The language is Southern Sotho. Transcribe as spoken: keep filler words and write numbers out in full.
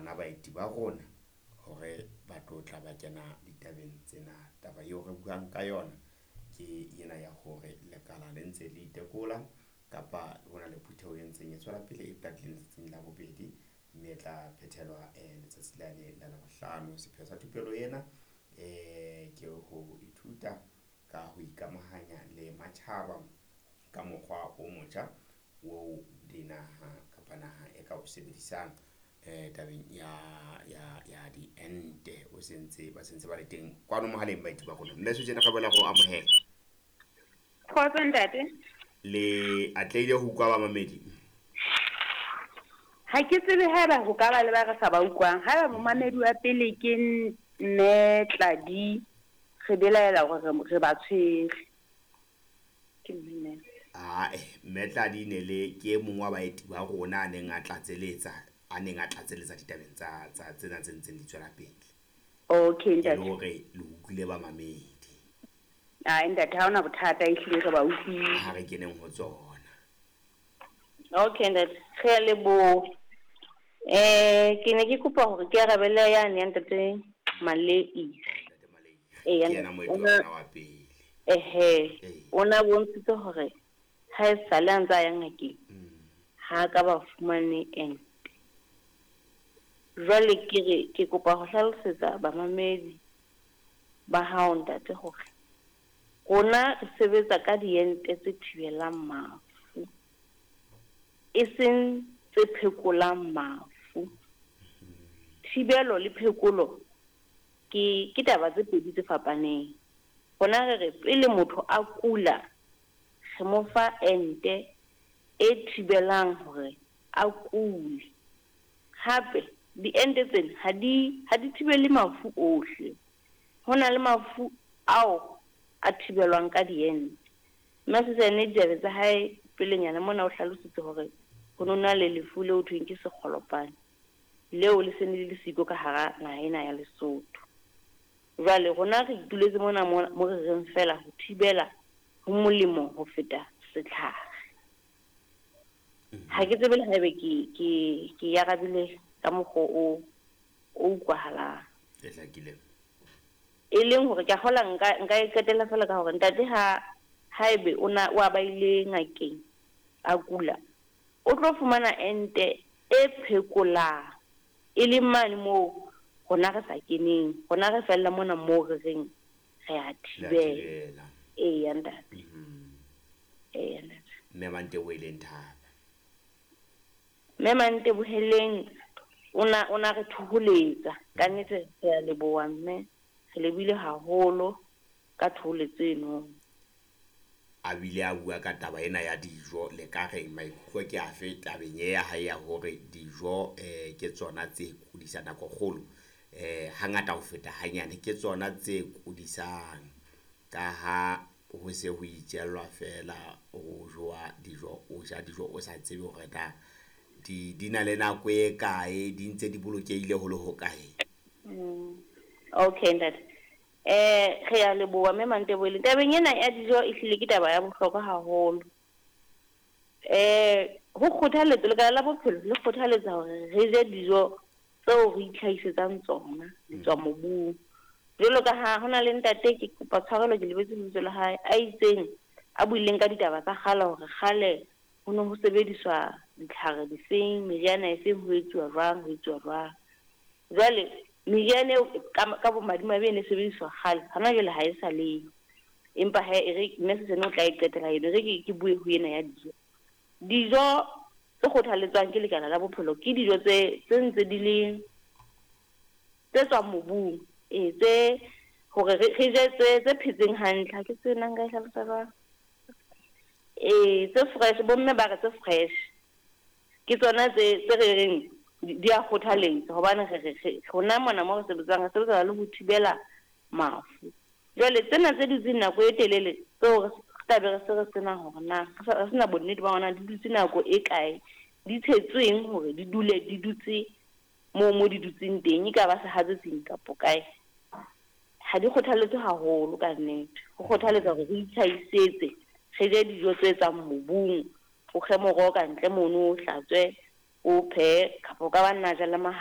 bona baeti ba rona hore ba tlo tla ba kena ditabeng tsena. Taba eo re buang ka yona ke ena ya hore lekala le ntse le itekola kapa hona le phutheho e ntseng e tswela pele e qadileng letsatsing la bobedi, mme e tla phethelwa eh, letsatsi lane la Labohlano. Sepheo sa thupelo ena eh ke ho ithuta ka ho ikamahanya le matjhaba ka mokgwa o motjha oo dinaha kapa naha e ka o sebedisang eh tabeng ya ya ya diente. O sentse ba sentse ba le teng kwano mohaleng baeti ba rona. Mme Suzan, re boela go amohela. Kgotso ntate. Le atlehile ho utlwa bamamedi? Ha ke tsebe haeba ho ka ba le ba re sa ba utlwang. Haeba momamedi wa pele ke mme Tladi, re belaela hore re re ba tshwere. Ke mme. Ae, mme Tladi ne le ke e mong wa baeti ba rona a neng a tlatseletsa, a neng a tlatseletsa ditabeng tsa tsa tsena tse ntseng di tswela pele. Okay E le ntate. hore le utlwile bamamedi. Ai ntate, ha hona bothata, ehlile re ba utlwile. Ha re keneng ho tsona. Okay ntate, re a leboha. Eh ke ne ke kopa hore ke arabele yane ya ntate Malei. Ntate Malei. Ee, Ke yena moeti wa ona- rona wa pele. Ehe, Ee. o na bontshitse hore ha e sale a ntse a ya ngakeng, Mm. ha ka ba fumane ente. Jwale ke re ke kopa ho hlalosetsa bamamedi ba hao ntate hore rona re sebetsa ka diente tse thibelang mafu, e seng tse phekolang mafu. Thibelo le phekolo ke ke taba tse pedi tse fapaneng. Rona re re pele motho a kula, re mo fa ente e thibelang hore a kule. Hape diente tsena ha di ha di thibele mafu ohle. Ho na le mafu ao a thibelwang ka diente. Mme Suzan diabe tsa hae pelenyana mona o hlalositse hore ho no na le lefu leo ho thweng ke sekgolopane, leo le se ne le le siko ka hara naha ena ya Lesotho. Jwale rona re ituletse mona mo mo re reng fela ho thibela ho molemo ho feta setlhare. Ha ke tsebe le haebe ke ke ke arabile ka mokgwa o o utlwahalang. E hlakile. E leng hore ke a kgola nka nka e qetella fela ka hore ntate ha haebe o na o a ba ile ngakeng a kula, o tlo fumana ente e phekolang, e leng mane moo rona re sa keneng, rona re fella mona moo re reng re a Le a thibela. thibela. Eya ntate. Mhm. Eya ntate. Mme Manteboheleng Thaba. Mme Manteboheleng o na o na re thoholetsa. Ka nnete re a leboha mme, re lebohile haholo ka thoholetso eno. A bile a bua ka taba ena ya dijo, le ka reng maikutlo ke afe tabeng e ya hae ya hore dijo eh ke tsona tse kudisa nako kgolo, eh hangata ho feta hanyane ke tsona tse kudisang, ka ha ho se ho itjellwa fela, ho jowa dijo, o ja dijo o sa tsebe hore na di di na le nako e kae, di ntse di bolokehile ho le hokae. Mm. Okay ntate. Eh re a leboha mme Manteboheleng. Tabeng ena ya dijo ehlile ke taba ya bohlokwa haholo. Eh ho kgothaletsa lekala la bophelo le kgothaletsa hore re je dijo tseo re itlhahisetsang tsona di tswa mobung. Jwalo ka ha hona le ntate, ke kopa tshwarelo ke lebetse lebitso la hae, a itseng a buileng ka ditaba tsa kgale hore kgale ho ne ho sebediswa ditlhare difeng, meriana efeng, ho etsuwa jwang, ho etsuwa jwang. Jwale meriana eo ka ka bomadimabe e ne sebediswa kgale, hona jwale ha e sa leyo. Empa he e re mme Suzan o tla e qetela eno, e re ke ke bue ho ena ya dijo. Dijo tse kgothaletswang ke lekala la bophelo ke dijo tse tse ntse di le tse tswang mobung, ee tse hore re re je tse tse phetseng hantle. Ha ke tsebe na nka e hlalosa jwang. Ee tse fresh, bomme ba re tse fresh ke tsona tse tse re reng di a kgothaletsa, hobane re re re rona mona mo re sebetsang re sebetsa le ho thibela mafu. Jwale tsena tse dutseng nako e telele tseo re tla be re se re sena hore na re sena bonnete ba hore na di dutse nako e kae, di tshetsweng hore di dule di dutse moo mo di dutseng teng, e ka ba sehatsetsing kapo kae, ha di kgothaletswe haholo ka nnete. Ho kgothaletsa hore re itlhahisetse, re je dijo tse tswang mobung, o kge moroho ka ntle mono, o hlatswe, o phehe, kapa o ka ba nna ja le mahaba.